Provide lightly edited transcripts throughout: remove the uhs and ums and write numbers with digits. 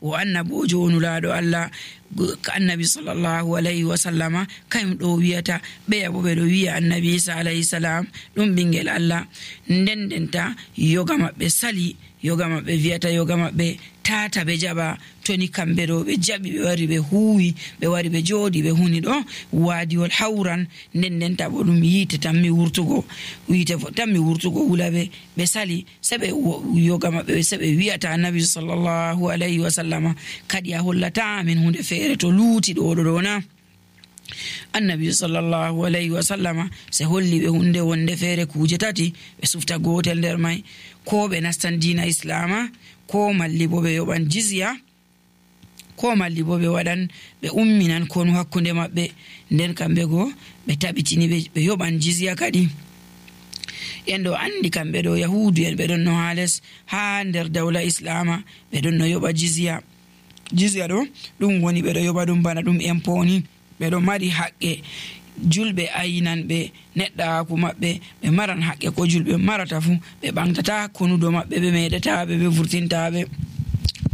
o annabojo onulaɗo Allah annabi sallallahu alayhi wa sallama kayum ɗo wiyata ɓeya bo ɓeɗo wiya annabi Isa alayhi salam ɗum ɓingel Allah. ndendenta yoga maɓɓe sali, yoga maɓɓe wiyata yoga maɓɓe tata ɓe jaɓa. toni kamɓe ɗo ɓe jaɓi ɓe wari ɓe huwi ɓe wari ɓe jooɗi ɓe huni ɗo wadiwol hawran. ndendenta bo ɗum yite tanmi wurtugo wula ɓe sali se ɓe yoga maɓɓe se ɓe wiyata annabi sallallahu alayhi wa sallama kadi a hollata amin hunde feere to luuti ɗo na. annabi sallallahu alayhi wa sallama se holli ɓe hunde wonde feere kuje tati ɓe sufta gotel nder mai, ko ɓe nastan dina islama, ko malli bo ɓe yoɓan jizya, ko malli bo ɓe waɗan ɓe umminan konu hakkunde maɓɓe. nden kamɓe go ɓe taɓitini ɓe yoɓan jizya kadi. en ɗo andi kamɓe ɗo yahudu en ɓe ɗon no ha les ha nder dawla islama ɓe ɗon no yoɓa jizya ɗo ɗum woni ɓe ɗo yoɓa ɗum bana ɗum emponi. ɓe ɗo mari haqqe julɓe ayinan ɓe neɗɗaku maɓɓe ɓe maran haqqe ko julɓe marata fu, ɓe ɓantata konudo maɓɓe ɓe meɗataɓe ɓe vurtintaɓe.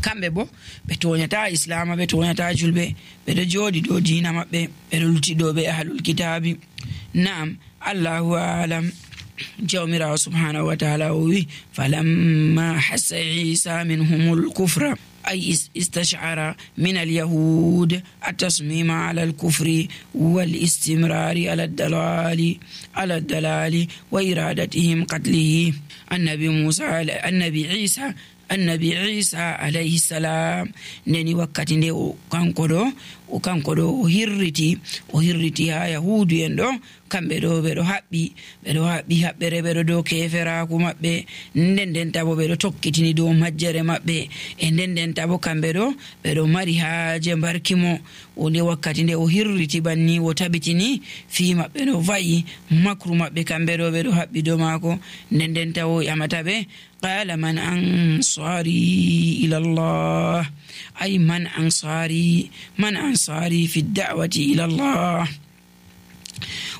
kamɓe bo ɓe toñata islama, ɓe toñata julɓe, ɓeɗo jooɗi dow dina maɓɓe, ɓeɗo lutti ɗo ɓe ahlul kitabi. Naam, Allahu alam. jawmirawo subhanahu wa ta'ala o wi falamma hassa isa minhumul kufra أي استشعر من اليهود التصميم على الكفر والاستمرار على الدلال وإرادتهم قتله. النبي عيسى عليه السلام نني وقتي نde o kanko ɗo o hirriti ha yahudu en ɗo kamɓe ɗo ɓeɗo haɓɓi haɓɓere ɓeɗo dow keferaku maɓɓe. ndendenta bo ɓeɗo tokkitini dow majjere maɓɓe e ndendenta bo kamɓe ɗo ɓeɗo mari haaje mbarkimo. o nde wakkati nde o hirriti banni o tabitini fi maɓɓe no va'i makru maɓɓe kamɓe ɗo ɓeɗo haɓɓi dow maako. ndendenta o yamata ɓe qala man ansari ila Allah ay man ansari fi da'wati ila Allah.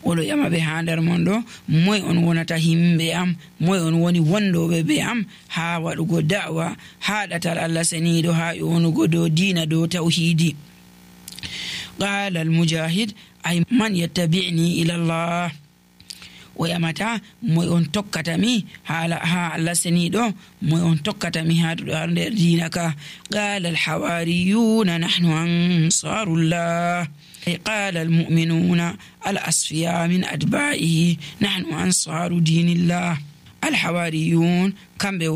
oɗo yama ɓe ha nder mon ɗo moy on wonata himɓe am, moy on woni wondoɓe be am ha waɗugo da'wa ha ɗatal Allah seniɗo ha yonugo dow dina dow tawhidi. qala al mujahid ay man yattabi'ni ila Allah. o yamata moy on tokkatami ha Allah seniɗo, moy on tokkatami ha nder dina ka. qala al hawariyuna nahnu ansarullah. قال المؤمنون الأصفياء من أتباعه نحن أنصار دين الله. الحواريون kamɓe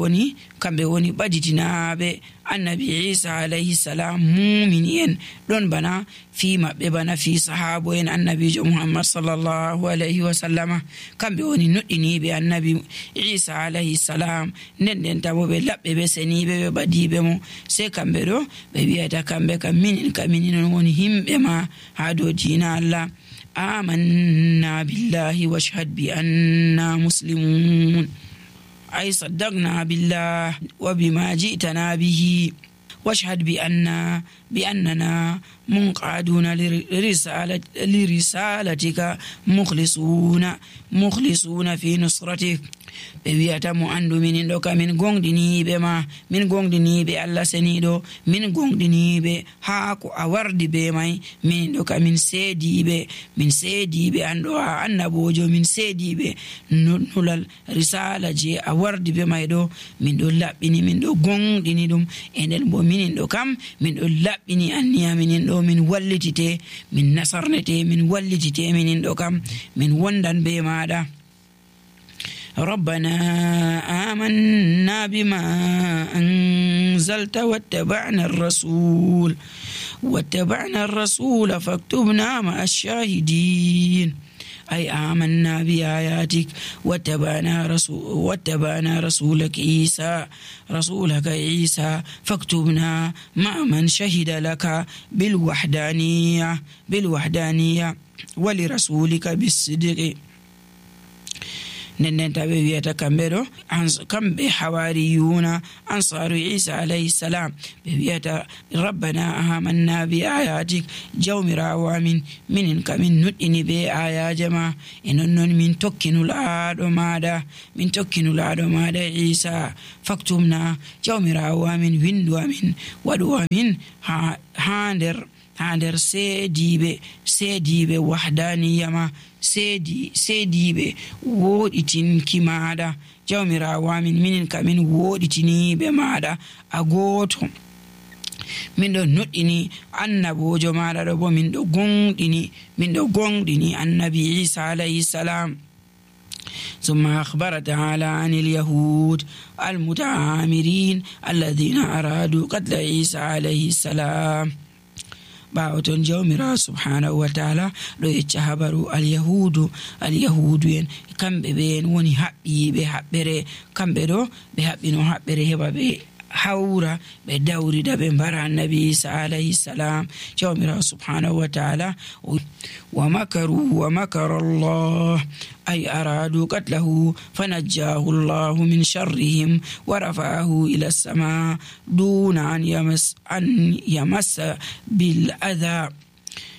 woni ɓaditinaɓe annabi Isa alayhi salam, mumini en ɗon bana fi maɓɓe bana fi sahabo en annabijo Muhammad sallallahu alayhi wa sallama. kamɓe woni nuɗɗiniɓe annabi Isa alayhi salam, ndendenta bo ɓe laɓɓe ɓe seniɓe ɓe ɓadiɓe mo. se kamɓe ɗo ɓe wiyata kamɓe kaminin woni himɓe ma ha dow dina Allah. amanna billahi washhad bi anna muslimun. أي صدقنا بالله وبما جئتنا به واشهد بأننا منقادون لرسالتك مخلصون في نصرتك. ɓe wiyata mo andu minin ɗo ka min gonɗiniɓe Allah seniɗo, min gonɗiniɓe ha ko a wardi be mai. minin ɗo ka min seediɓe an ɗo a annabojo, min seediɓe nulal risala je a wardi be mai ɗo. min ɗo laɓɓini, min ɗo gonɗini ɗum, e nden bo minin ɗo kam min ɗo laɓɓini anniya minin ɗo min wallitite, min nasarnete, min wallitite minin ɗo kam min wondan be maɗa. ربنا آمنا بما أنزلت واتبعنا الرسول فاكتبنا مع الشاهدين. أي آمنا بآياتك واتبعنا رسولك عيسى فاكتبنا مع من شهد لك بالوحدانية ولرسولك بالصدق. nden taɓe wiyata kamɓe ɗo kamɓe hawariyuna ansaru isa alayhi salam ɓe wiyata rabbana amanna bi ayatik jawmirawo amin minin kamin nuɗɗini be ayaje ma e nonnon min tokkinulaɗo maɗa isa faktumna jawmirawo amin windu amin waɗu amin ha nder seediɓe wahdaniyama seediɓe woɗitinki maɗa jawmirawo amin minin kamin woɗitiniɓe maɗa a goto min ɗo nuɗɗini annabojo maɗa ɗo bo min ɗo gonɗini annabi isa alayhi salam. ثم أخبر تعالى عن اليهود المتآمرين الذين أرادوا قتل عيسى عليه السلام. باوتون جومرا سبحانه وتعالى ɗo yecca habaru alyahudu en kamɓe ɓen woni haɓɓiɓe haɓɓere kamɓe ɗo ɓe haɓɓino haɓɓere heɓa ɓe hawra ɓe dawrida ɓe mbara annabi isa alayhi salam. jawmira subhanahu wa ta'ala wa makaru wa makara Allah ay aradu qatlahu fanajjahu Allah min sharrihim wa rafa'ahu ila as-sama duna an yamassa bil adha.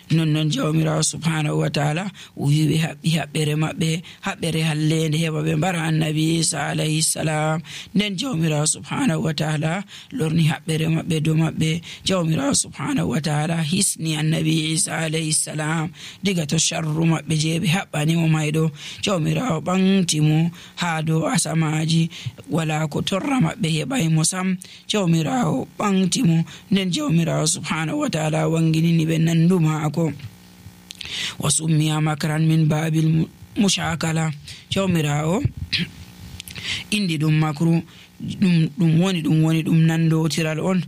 non jawmirawo subhanahu wa ta'ala wi ɓe haɓɓi haɓɓere maɓɓe haɓɓere hallende heɓa ɓe mbara annabi isa alayhi salam. nden jawmirawo subhanahu wa ta'ala lorni haɓɓere maɓɓe dow maɓɓe. jawmirawo subhanahu wa ta'ala hisni annabi isa alayhi salam diga to sharru maɓɓe je ɓe haɓɓanimo mayɗo. jawmirawo ɓanti mo ha dow asamaji wala ko torra maɓɓe heɓaymo sam. jawmirawo ɓanti mo nden jawmirawo subhanahu wa ta'ala wanginini ɓe nanduma wa summiya makran min babil mushakala. jawmirawo indi ɗum makru ɗum woni ɗum nandotiral on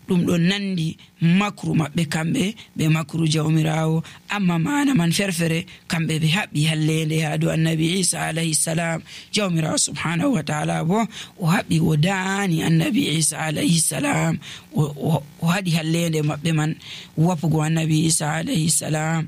ɗum ɗo nandi makru maɓɓe kamɓe ɓe makru jawmirawo amma mana man ferfere kamɓe ɓe haɓɓi hallende ha dow annabi isa alayhi salam. jawmirawo subhanahu wa ta'ala bo o haɓɓi o daani annabi isa alayhi salam o haɗi hallende maɓɓe man wapugo annabi isa alayhi salam.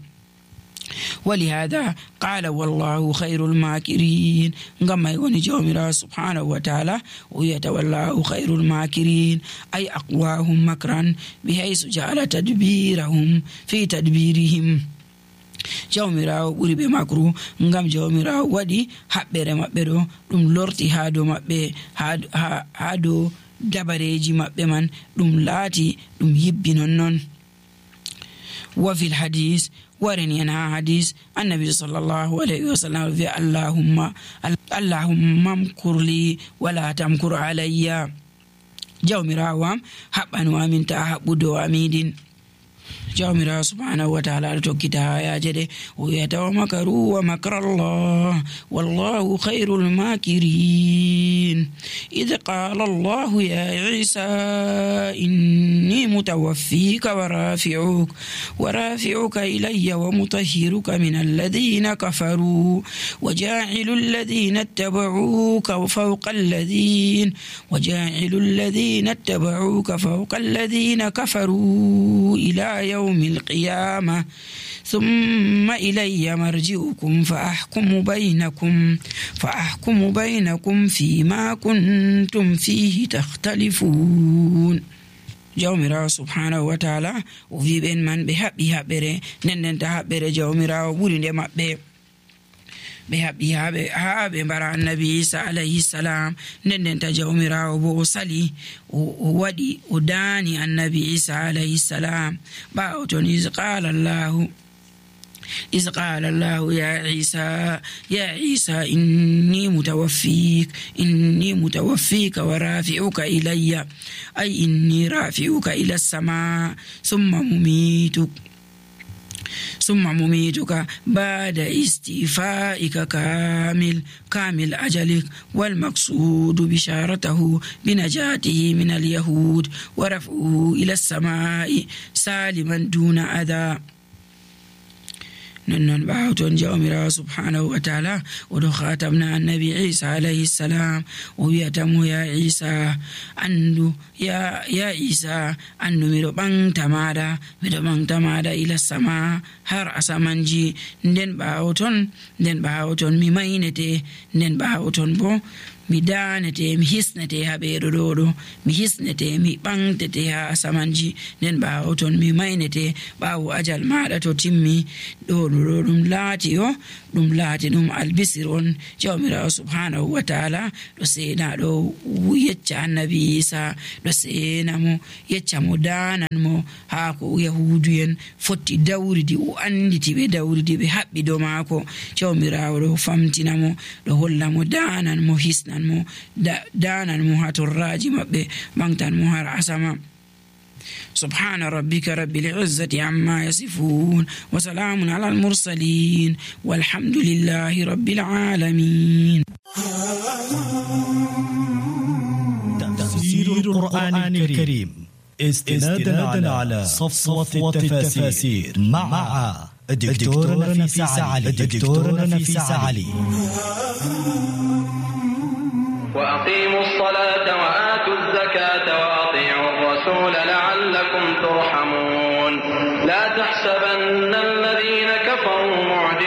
ولهذا قال والله خير الماكرين كما يقول جومرا سبحانه وتعالى ويتولاه خير الماكرين أي أقواهم مكرا بحيث جعل تدبيرهم في تدبيرهم. jawmirawo ɓuri ɓe makru ngam jawmirawo waɗi haɓɓere maɓɓe ɗo ɗum lorti ha dow maɓɓe ha dow dabareji maɓɓe man ɗum laati ɗum yibbi nonnon. وفي الحديث ورني أنا حديث النبي صلى الله عليه وسلم في اللهم امكر لي ولا تمكر علي. jawmirawo haɓɓanu amin ta haɓɓudo amidin. jawmirawo subhanahu wa ta'ala tokkita hayaje ɗe o wiyata wa makaru wa makra Allah wallahu khairul makirin. idh qala Allah ya Isa inni mutawaffika wa rafi'uka ilayya wa mutahhiruka min alladhina kafaru wa ja'ilu alladhina ittaba'uka fawqa alladhina kafaru ila يوم القيامة ثم إلي مرجعكم فأحكم بينكم فيما كنتم فيه تختلفون. jawmirawo subhanahu wa ta'ala o wi ɓen man ɓe haɓɓi haɓɓere nden ta haɓɓere jawmirawo ɓuri nde maɓɓe ɓe haɓɓi ha ɓe mbara annabi isa alayhi salam. nden ta jawmirawo bo o sali o waɗi o daani annabi isa alayhi salam ɓawo ton إذ قال الله يا عيسى إني متوفيك ورافعك إلي أي إني رافعك إلى السماء ثم مميتك بعد استيفائك كامل أجلك والمقصود بشارته بنجاته من اليهود ورفعه إلى السماء سالما دون أذى. non ɓawton jawmirawo subhanahu wa taala oɗo khatamna annabi Isa alayhi salam o wiyatamo ya Isa andu ya Isa andu miɗo ɓamta maɗa ila sama har asamanji nden ɓawton mi maynete nden ɓawton bo mi danete mi hisnete ha ɓeeɗo ɗo mi hisnete mi ɓamtete ha asamanji nden ɓawton mi maynete ɓawo ajal maɗa to timmi ɗo ɗum laati ɗum albisir on jawmirawo subhanahu wa taala ɗo sena ɗo yecca annabi Isa ɗo sena mo yecca mo danan mo ha ko yahudu'en fotti dawridi o anditi ɓe dawridi ɓe haɓɓi dow maako jawmirawo ɗo famtina mo ɗo holla mo danan mo hisnan mo danan mo ha torraji maɓɓe ɓamtan mo har asama. سبحان ربك رب العزة عما يصفون وسلام على المرسلين والحمد لله رب العالمين. تفسير القرآن الكريم استنادا على صفوة التفاسير مع الدكتور نفيس علي. وأقيموا الصلاة